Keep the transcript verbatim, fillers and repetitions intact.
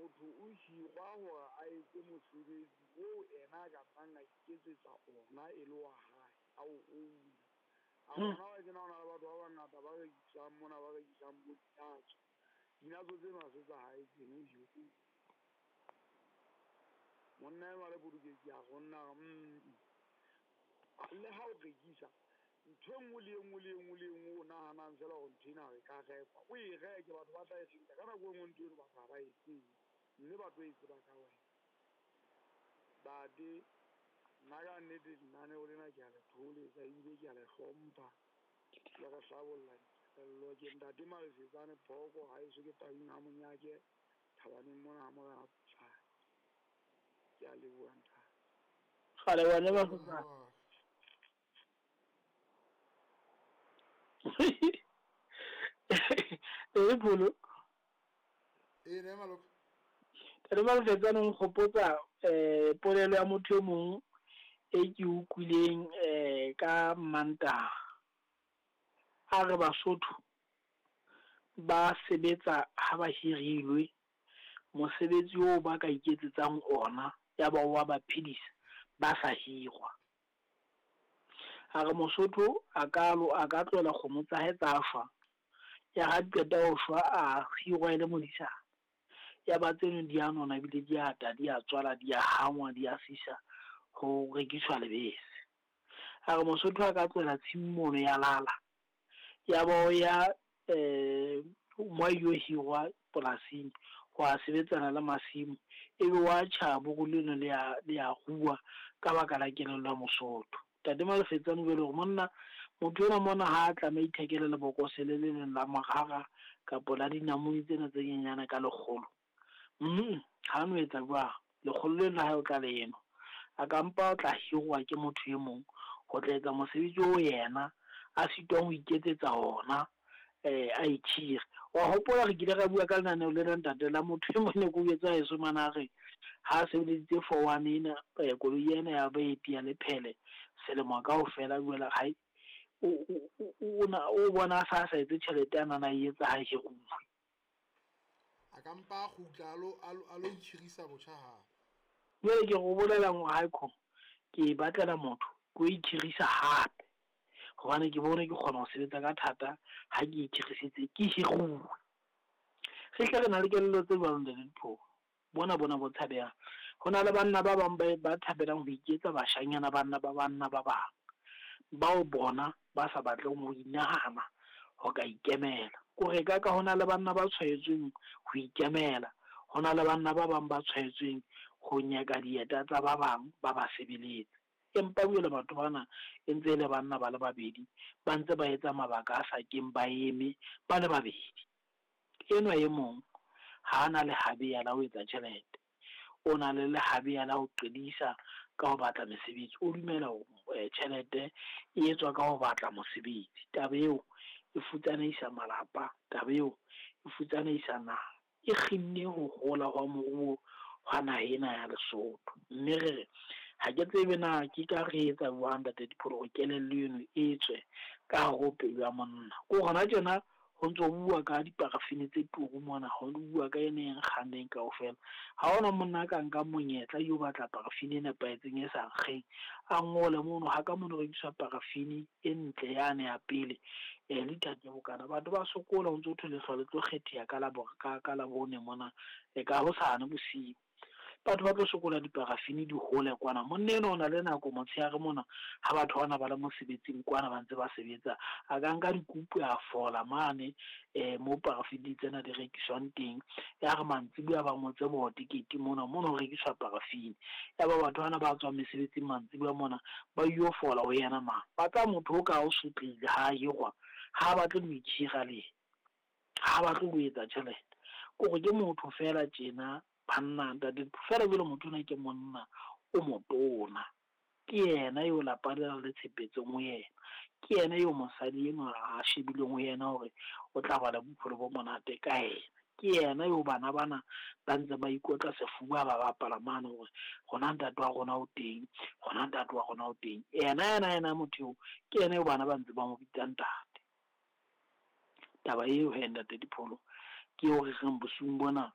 Motho o hirwa hore a etse mosebetsi oo ena a ka nnang a iketsetsa ona e le wa hae, a o own-a. A Hmm. bona wa tjena ho na le batho ba bangata ba rekisang mona, ba rekisang bo dinatso. Dinatso tseno ha se tsa hae tseno, o hiruwe. Monna enwa le Portuguese a re ho nna a re, mm le ha o rekisa ntho e nngwe le e nngwe le e nngwe le e nngwe o nahanang feela hore ntho ena e ka rekwa, o e reke, batho ba tla e reka. Ka nako e nngwe ntho eno batho ha ba e tsebe, mme ba tlo e tseba ka wena. Ntate, nna ka nnete lenaneo lena ke a le thoholetsa ebile ke a le hlompha, le re hlabolla dikelello. Ke ntate Malefetsane Phoko, haeso ke Taung ha Monyake, Thabaneng mona ha Morena Potlane. Ke a leboha ntate. Kgale wena ba E pholo. E ne maloka. Ntate Malefetsane o nkgopotsa eh polelo ya motho e mong e ke utlwileng eh ka Mantaha. A re Basotho ba sebetsa ha ba hirilwe, mosebetsi oo ba ka iketsetsang ona ya ba wa ba phedisa ba sa hirwa. A re Mosotho a ka lo a ka tlohela kgomo tsa hae tsa shwa, ya ha qeta ho shwa a hirwa e le modisana. Ya ba tseno di a nona ebile di ata, di a tswala, di a hangwa, di a sisa ho rekiswa lebese. A re Mosotho a ka tlohela tshimo mono ya lala, ya ba o ya eh mo a ilo hirwa polasing ho a sebetsana le masimo, ebe wa tjha buru leno le a le a rua ka baka la kelello ya Mosotho. Ntate Malefetsane o jwale hore monna motho enwa mona ha a tlameha ithekele lebokose le le leng la morara kapa la dinamune tsena tse nyenyane ka lekgolo. Mm ha no etsa jwang, lekgolo leno la hae o tla le enwa. A ka mpa o tla hirwa ke motho e mong ho tla etsa mosebetsi oo yena a sitwang ho iketsetsa ona, eh a ikhire. Wa hopola re kile ra bua ka lenaneo lena ntate la motho e mong ne ke o jwetsa heso mane a re ha sebeleditse four one ena, eh, koloi ena ya baeti ya lephele selemo kaofela, jwale hae o o o na o bona a sa sa etse tjhelete a nana e etsa ha hiruwe. A ka mpa a kgutla a lo a lo a lo ikhirisa botjha hape. Jwale ke go bolela hore hae kho ke e batlela motho ke o ikhirisa hape, hobane ke bone ke kgona ho sebetsa ka thata ha ke ikhirisitse ke hiruwe. Re hle re na le kelello tse jwalo ntate Diphoko, bona bona bo tshabehang. Ho na le banna ba bang ba ba thabelang ho iketsa bashanyana banna ba banna ba bang, bao bona ba sa batleng ho inahana ho ka ikemela. Kore ka ka hona le banna ba tshwaetsweng ho ikemela, hona le banna ba bang ba tshwaetsweng ho nyaka dieta tsa ba bang ba ba sebeletse. Empa jwale batho bana e ntse e le banna ba le babedi, ba ntse ba etsa mabaka a sa keng ba eme ba le babedi. Enwa e mong ha ana lehabeya la ho etsa tjhelete, o na le lehabeya la ho qedisa ka ho batla mesebetsi. O dumela hore tjhelete e etswa ka ho batla mosebetsi. Taba eo e futsanehisa malapa, taba eo e futsanehisa naha, e kginne ho hola hwa moruo hwa naha ena ya Lesotho. Mme re re ha ke tsebe na ke ka re etsa jwang ntate Dipholo hore kelello eno e tswe ka hare ho pelo ya monna. Ko hona tjena ho ntso bua ka diparafene tse turu mona, ho bua ka ene e nkgang kaofela. Ha hona monna a ka nkang monyetla yo batla parafene e nepahetseng e sa nkgeng, a ngole mono ha ka mono rekiswa parafene e ntle yane ya pele, eh liter ke bokana. Batho ba sokola ho ntso thwe lehlwa le tlo kgetheha ka la ka ka Labone mona, e ka hosane bosiu. Batho ba tlo sokola diparafene di hole kwana. Monna enwa o na le nako motshehare mona ha batho bana ba le mosebetsing kwana ba ntse ba sebetsa, a ka nka dikupu a fola mane eh mo parafene tsena di rekiswang teng. Ya re mantsibuya ba ngotse bo tekete mona, mona ho rekiswa parafene. Ya ba batho bana ba tswang mesebetsing mantsibuya mona ba yo fola ho yena mang. Ba tla motho o ka o sotlehile ha hirwa, ha batle ho ikhira le yena, ha batle ho etsa tjhelete. Kore ke motho feela tjena banna ntate feela jwale motho ona ke monna o motona, ke yena eo lapa lena le tshepetseng ho yena, ke yena eo mosadi enwa a shebileng ho yena hore o tla ba le bophelo bo monate ka yena, ke yena eo bana bana ba ntse ba ikotla sefuba ba bapala mane hore rona ntate wa rona o teng, rona ntate wa rona o teng. Yena yena yena motho eo ke yena eo bana ba ntse ba mo bitsa ntate. Taba eo he ntate Dipholo ke eo re reng bosiung bona